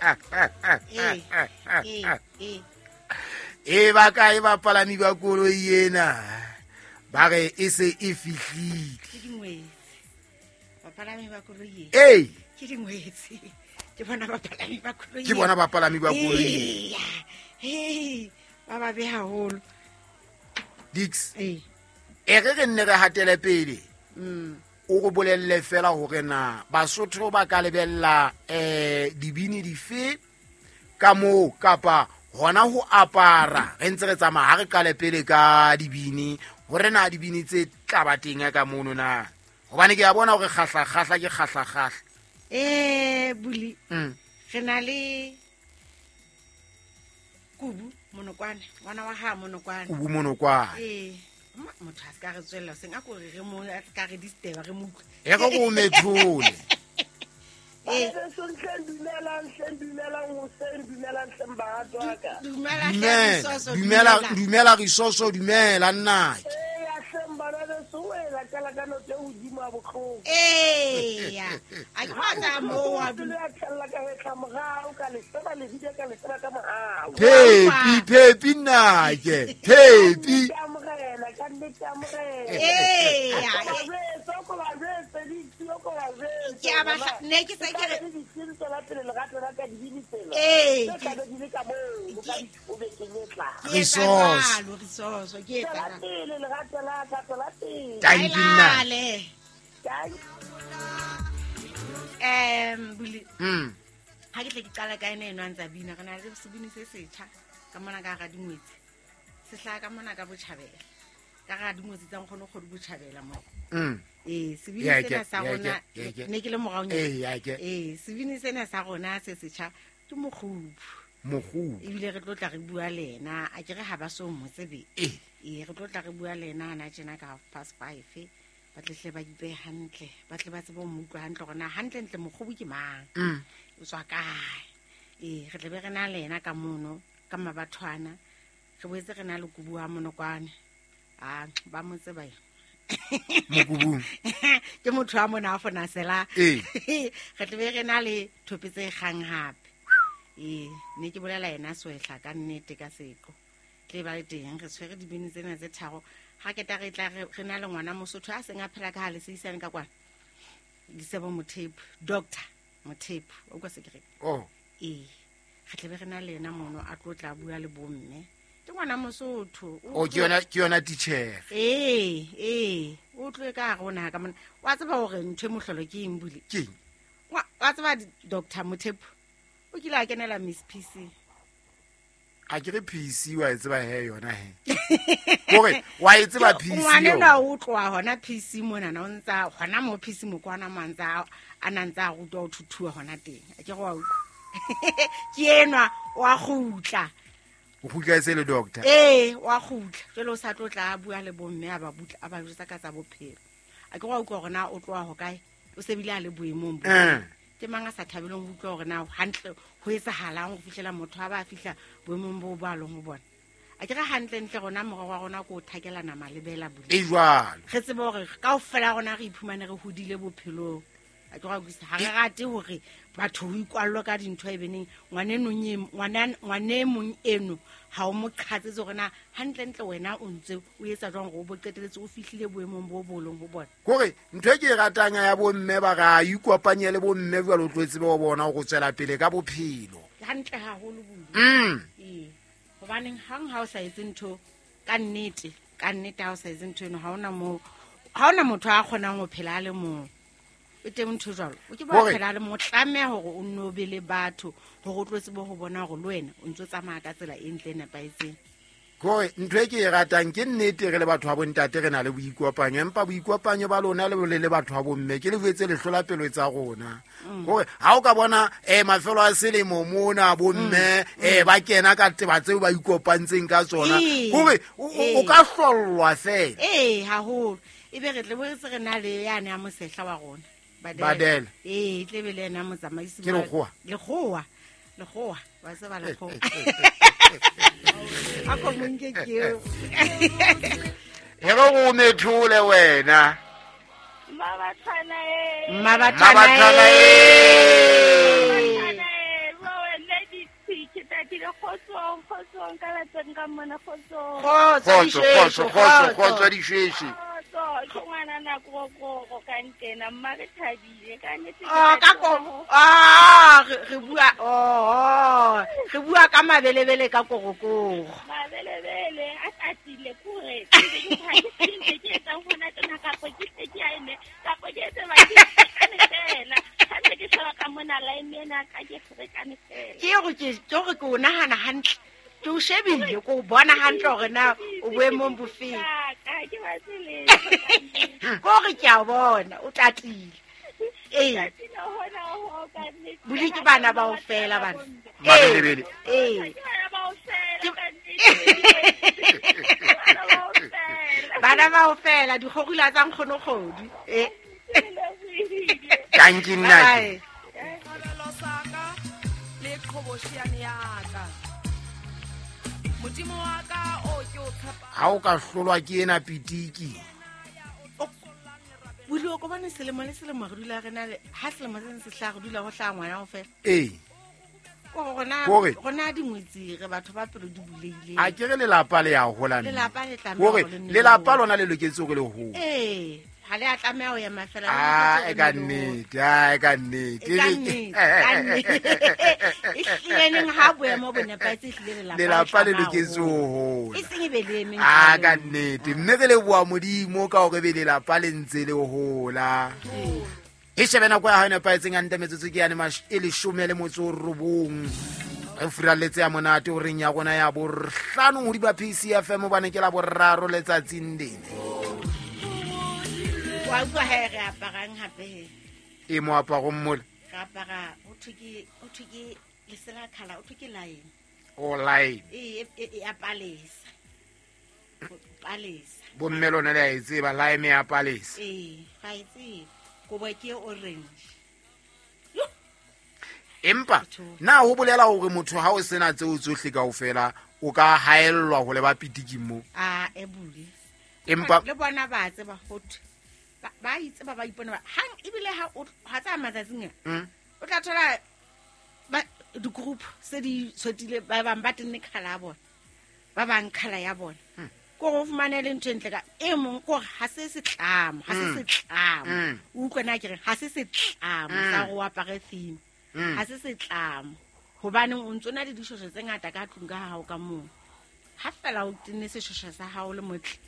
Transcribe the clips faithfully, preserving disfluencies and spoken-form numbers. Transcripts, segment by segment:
Ee, ee, ee. E ba kae bapalami ba koloi ena? Ba re e se e fihlile. Ke dingwetsi. Bapalami ba koloi e. Ee. Ke dingwetsi. Ke bona bapalami ba koloi. Ke bona bapalami ba koloi. Eya. Hei, ba babe haholo. Dix. Ee. E re re nne re hatele pele. Mm. O re bolelle fela hore na Basotho ba ka lebella eh dibini dife ka moo kapa hona ho apara. Re ntse re tsamaya ha re qale pele ka dibini hore na dibini tse tla ba teng ka mono na. Hobane ke a bona hore kgahla kgahla ke kgahla kgahla. Eh Buli. Mm. Re na le Kubu Monokwane, ngwana wa ha Monokwane. Kubu Monokwane. Eh. Motho a se ka re tswella seng a ko re re mo a se ka re disturb re mo utlwe. E re go methole. Eh. Dumela Dumela, Risoso, dumela, dumela Risoso, dumela nna. Eh, ya. A ke batla mo wa du. Phepi, phepi nnake, phepi. Eh, ya. Ke a batla ne ke se ke re Eh, Risoso. Risoso, ke etsa. Thank you nna. Em Buli. Mm. Ha ke tle ke qala ka ena eno a ntsa bina, re na le sebini se setjha ka mona ka hara dingwetsi. Se hlaha ka mona ka botjhabela. Ka hara dingwetsi tsa nkgono kgodu botjhabela mo. Mm. Eh, sebini Yeah, sena ke, sa yeah, rona ke, yeah, ke. ne ke le moraonyana. Eh, yeah, ke. Eh, sebini sena sa rona se setjha ke Mokgubu. Mokgubu. Ebile re tlo tla re bua le ena, a ke re ha ba so mo tsebe. Eh. Eh, re tlo tla re bua le ena hana tjena ka half past five. Ba tle hle ba ipehe hantle, ba tle ba tsebe ho mo utlwa hantle hore na hantlentle Mokgubu ke mang. Mm. O tswa kae. Eh, re tle be re na le ena ka mono, ka mabathwana. Re boetse re na le Kubu wa Monokwane. Ah, ba mo tseba ena. Mokubung. Ke motho wa mona a fona sela. Eh. Re tle be re na le thope tse kgang hape. Eh, ne ke bolela yena Swehla ka nnete ka seqo. Tle ba le teng re tshwere dibini tsena tse tharo. Ha ke ta re tla re re na le ngwana Mosotho a seng a phela ka ha le seisane ka kwana. Disebo Mothepu, Doctor Mothepu, o kwa se ke re. Oh. Eh, re tle be re na le yena mono a tlo tla bua le bomme. Ke ngwana Mosotho. Oh, ke yona, ke yona teacher. Eh, eh, o tloe ka rona ka mona. Wa tseba hore ntho e mohlolo ke eng Buli? Ke eng? Wa, wa tseba Doctor Mothepu o kile a kenela Miss P C. A ke re P C wa e tseba he yona he. Hore wa e tseba P C. Ngwana enwa o tloha hona P C mona na o ntsa hona mo P C mokwana mo ntsa a na ntsa a rutwa ho thuthuwa hona teng. A ke re wa utlwa. Ke enwa wa kgutla. O kgutla e se le doctor. Eh, wa kgutla. Jwale o sa tlo tla a bua le bomme a ba butla a ba jwetsa ka tsa bophelo. A ke re wa utlwa hore na o tloha ho kae? O se bile a le boemong bo. Eh. Ke mang a sa thabeleng ho utlwa hore na hantle ho etsahalang ho fihlela motho a ba a fihla boemong bo bo a leng ho bona. A ke re hantle ntle rona morero wa rona ke ho thakelana malebela Buli. E jwalo. Re tsebe hore kaofela rona re iphumane re hodile bophelong. A ke re wa utlwisisa, ha re rate hore batho ho ikwallwe ka dintho e beneng ngwaneno nye, ngwana, ngwane mong eno ha o mo qhatsetse hore na hantlentle wena o ntse o etsa jwang hore o bo qetelletse o fihlile boemong bo bo leng ho bona. Kore ntho e ke e ratang ya bomme ba ra ikopanye le bomme jwalo o tlo tsebe ho bona hore o tswela pele ka bophelo. Hantle haholo Buli. Mm. Ee. Hobaneng hang ha o sa etse ntho ka nnete, ka nnete ha o sa etse ntho eno ha hona moo, ha hona motho a kgonang ho phela a le mong. O teng ntho jwalo. O ke ba Hore phela le mo tlameha hore o nno be le batho hore o tlo tsebe ho bona hore le wena o ntso tsamaya ka tsela e ntle e nepahetseng. Kore ntho e ke e ratang ke nnete re le batho ba bontate re na le boikopanyo, empa boikopanyo ba lona le le le batho ba bomme ke le jwetse lehlola pelo tsa rona. Mm. Kore ha o ka bona eh mafelo a selemo mona bomme Mm. eh ba kena ka teba tseo ba ikopantseng ka tsona. Ee. Kore o, o, o Ee. ka hlollwa fela. Ee, haholo. Ebe re tle bo re se re na le yane ya mosehla wa rona. Badela. Badela. Ee, tle be le yena motsamaisi Ke wa lekgowa? Lekgowa. Lekgowa. Wa tseba lekgowa. A ko mo nke ke eo. E re o methole wena. Mmabathwana e. Mmabathwana Mmabathwana e. e. Mmabathwana e. Bua wena Kgotsong ka lapeng ka mona kgotsong. Kgotso, kgotso, kgotso, kgotso dishweshwe. Kgotso, ke ngwana na korokoro ka ntena mma re thabile ka nnete. Oh, ka ko. Ah, re bua oh, re bua ka mabelebele ka korokoro. Mabelebele a tatile kore. Ke ke ke etsa hona tena ka po ke ke a ene ka po ke tse ba ke fela. Ha ke sheba ka mona line ena ka ke ferekane fela. Ke hore ke ke hore ke o nahana hantle. Ke o shebile ko bona hantle hore na o boemong bofeng. Ka ke batsile. Ko re ke a bona o tatile. Eh. Buli ke bana ba o fela bana. Mabelebele. Eh. Ke bana ba o fela ka nnete. Bana ba o fela dikgorula tsa nkgonokgodi. Eh. Thank you nna. Kabelo saka le qhoboshiane ya ka. Modimo wa ka o ke o tshepa. Ha o ka hlolwa ke ena pitiki. Buli o ko bone selemo le selemo re dula re na le ha selemo se se hla re dula ho hla ngwana o fela. Eh. Ko rona rona dingwetsi re batho ba pelo di buleile. A ke re lelapa le ya hola nne. Lelapa le tlameha hore lelapa lona le loketse hore le hole. Eh. Ha le a tlameha ho ema fela. Ah, e ka nnete, ah, e ka nnete. E ka nnete, ka nnete. E hlile neng ha boemo bo nepahetse ehlile lelapa. Lelapa le loketse ho hola. E seng e be le emeng. Ah, ka nnete. Mme re leboha Modimo ka hore be lelapa le ntse le hola. E shebe nako ya hao e nepahetseng hantle metsotso ke yane e leshome le motso o robong. Re furaletse ya monate o reng ya rona ya bohlano hodima P C F M hobane ke la boraro letsatsing lena. Wa utlwa he re aparang hape he. E moaparong mola. Re apara ho thwe ke ho thwe ke lesela khala, ho thwe ke line. O line. E e e a palesa. Palesa. Bo mme lona le a e tseba lime ya palesa. Eh, ga e tsebe. Kobo ke orange. Empa na ho bolela hore motho ha o sena tseo tsohle kaofela o ka haellwa ho leba pitiki mo. Ah, e bule. Empa le bona ba tseba ho thwe ba itse ba ba ipona hang ebile ha o ha tsa matsatsing a o tla thola ba di group se di tshotile ba bang ba tenne khala ya bona ba bang khala ya bona ko go fumane le ntho entle ka e mong ko ha se setlamo ha se setlamo o utlwa na ke re ha se setlamo sa go apare theme ha se setlamo hobane o ntse na le dishosho tse ngata ka tlung ka hao ka moo ha fela o tenne seshosho sa hao le motle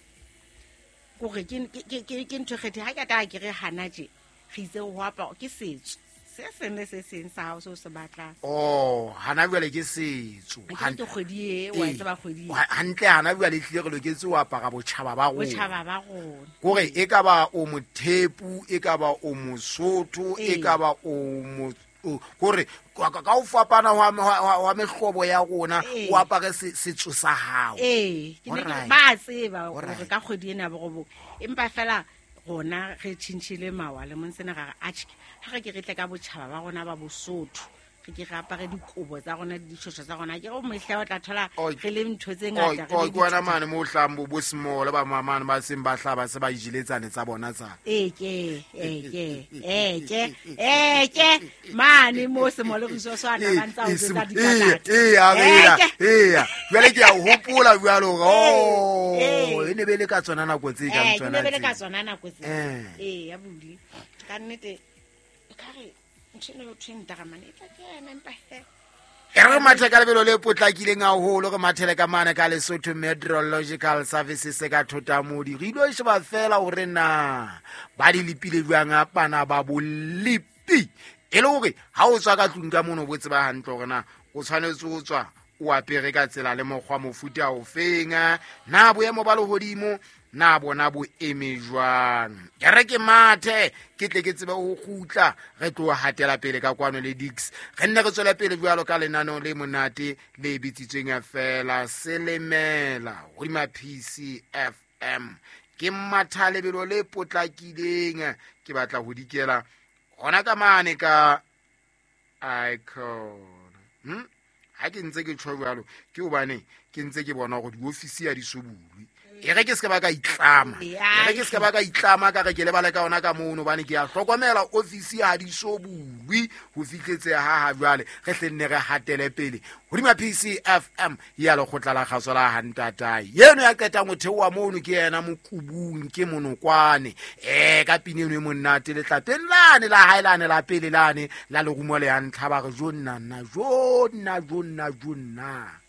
gore ke ke ke ke ntho kgethe ha ke ta ke re hana je re itse ho apara ke setso se seng le se seng sa hao se o se batlang. Oh, hana jwale ke setso. Ke kgwedi e wa tseba kgwedi. Hantle hana jwale tlile re loketse ho apara botjhaba ba rona. Botjhaba ba rona. Kore e ka ba o mothepu, e ka ba o mosotho, e ka ba o mo kore ka o fapana hwa mehlobo ya rona o apare setso sa hao. Eh, ke ne ke ba tseba hore ka kgwedi ena bo empa fela rona re tjhintjhile mawa le monsena ra re atjhe ha re ke re tle ka botjhaba ba rona ba Bosotho re ke re apare dikobo tsa rona le dishosho tsa rona ke re mehla o tla thola re le ntho tse ngata re le kwana mane mo hlang bo bo small ba mamane ba seng ba hlaba se ba ijiletsane tsa bona tsa e ke e ke e ke e ke mane mo small re so swana ba ntsa o tsa dipatata e a bela e jwale ke a hopola jwalo oh e ne be le ka tsona nako tse ka tsona e ne be le ka tsona nako tse e ya buli ka nnete ka re ntho eno thweng daramane e tla kena empa he e re mathe ka lebelo le potlakileng haholo re mathele ka mane ka Lesotho Meteorological Services ka Thotamodi re ilo sheba fela hore na ba di lepile jwang bana ba bolepi e le hore ha o tswa ka tlung ka mono bo tseba hantle hore na o tshwanetse o tswa o apere ka tsela le mokgwa mofuta o feng na boemo ba lehodimo na bona bo eme jwang. Ke re ke mathe ke tle ke tsebe ho kgutla re tlo hatela pele ka kwano le Dix re nne re tswela pele jwalo ka lenaneo le monate le bitsitsweng fela Selemela hodima P C F M. Ke matha lebelo le potlakileng ke batla ho dikela hona ka mane ka icon hm ha ke ntse ke tjho jwalo ke hobane ke ntse ke bona hore diofisi ya di sobulwe E re ke se ba ka itlama. E re ke se ba ka itlama ka re ke lebale ka ona ka mono bane ke a hlokomela ofisi ha di so bulwe ho fihletse ha ha jwale re hlenne re hatele pele hodima P C F M ya lekgotla la kgaso la hantatae yeno ya qetang ho theoha mono ke yena mokubung ke monokwane eh ka pine eno e monate letlapeng lane la hae lane la pele lane la lerumo le ya ntlha ba re jonna nna jonna jonna jonna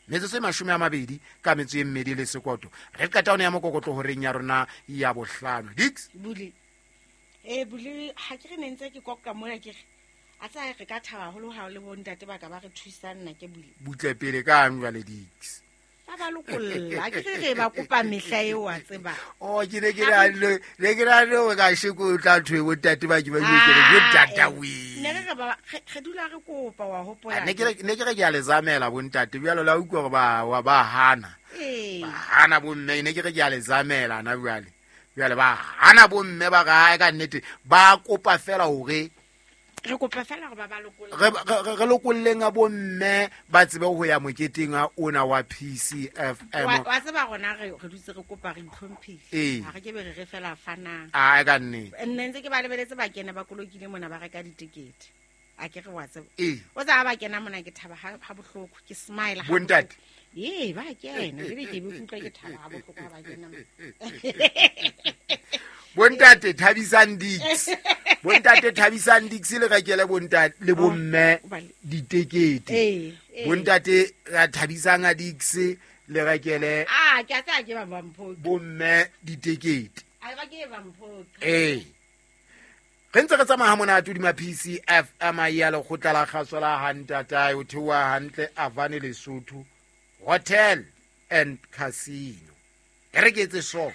metsotso e mashome a mabedi ka metso e mmedi le sekoto re qeta hona ya mokokotlo horeng ya rona ya bohlano Dix buli eh buli ha ke re ne ntse ke koka mona ke re a tsa re ka thaba haholo ha le bo ntate ba ka ba re thusa nna ke buli butle pele ka ang jwale Dix ba ba lokolla ke re re ba kopa mehla eo wa tseba oh ke ne ke ra le ne ke ra le ka sheko tla thwe bo ntate ba ke ba ke re bo tata we ne re ba re dula re kopa wa hopola ne ke ne ke re ke a le zamela bo ntate bjalo la utlwa gore ba wa ba hana eh ba hana bo mme ne ke re ke a le zamela na bjale bjale ba hana bo mme ba ga ka nnete ba kopa fela hore re kopa fela gore ba ba lokolle re re lokolleng a bo mme ba tsebe ho ya moketeng a ona wa P C F M wa tseba rona re re dutse re kopa re itlhomphile ha re ke be re re fela fanang a ka nnete nne ntse ke ba lebeletse ba kena ba kolokile mona ba reka ditikete a ke re wa tseba o tsa ba kena mona ke thaba ha bohloko ke smile ha bontate ee ba kena le ke be kutlwa ke thaba ha bohloko ha ba kena bontate thabisang Dix bontate thabisang Dix le rekele bontate le bomme ditekete bontate ra thabisang a Dix le rekele ah ke a tsa ke ba mpho bomme ditekete a ba ke ba mpho eh re ntse re tsamaya ha monate hodima P C F M ya lekgotla la kgaso la hantatae o theoha hantle Avane Lesotho Hotel and Casino e re ke etse so